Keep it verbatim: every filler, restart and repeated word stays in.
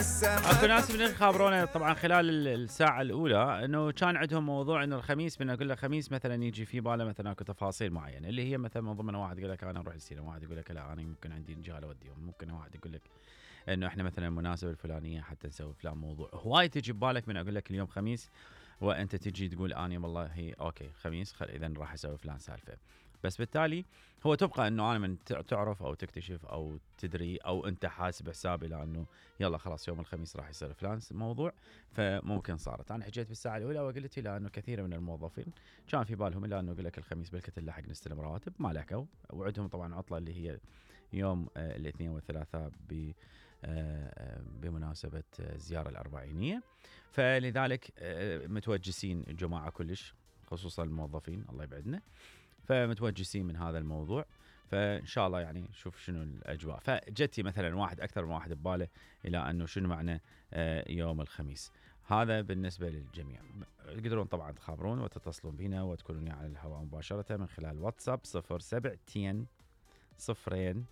اكو ناس من خابرونا طبعا خلال الساعه الاولى انه كان عندهم موضوع انه الخميس، من اقول له خميس مثلا يجي في باله مثلا اكو تفاصيل معينه اللي هي مثلا من ضمنها واحد يقول لك انا اروح السينما، واحد يقول لك لا انا ممكن عندي رجال اوديهم، ممكن واحد يقول لك انه احنا مثلا المناسبه الفلانيه حتى نسوي فلان موضوع. هواي تجي ببالك من اقول لك اليوم خميس وانت تجي تقول اني والله هي اوكي خميس خل اذا راح اسوي فلان سالفه. بس بالتالي هو تبقى انه انا من تعرف او تكتشف او تدري او انت حاسب حسابي لانه يلا خلاص يوم الخميس راح يصير فلان موضوع، فممكن صارت. انا حكيت بالساعه الاولى وقلت له انه كثير من الموظفين كان في بالهم الا انه يقول لك الخميس بالكت نلحق نستلم رواتب، ما لحقوا وعندهم طبعا عطله اللي هي يوم آه الاثنين والثلاثاء ب آه بمناسبه الزياره الاربعينيه، فلذلك آه متوجسين الجماعه كلش خصوصا الموظفين الله يبعدنا، فمتوجسين من هذا الموضوع. فان شاء الله يعني شوف شنو الاجواء. فجتي مثلا واحد اكثر من واحد بباله الى انه شنو معنى يوم الخميس. هذا بالنسبه للجميع. تقدرون طبعا تخابرون وتتصلون بنا وتكونون على الهواء مباشره من خلال واتساب صفر سبعة صفرين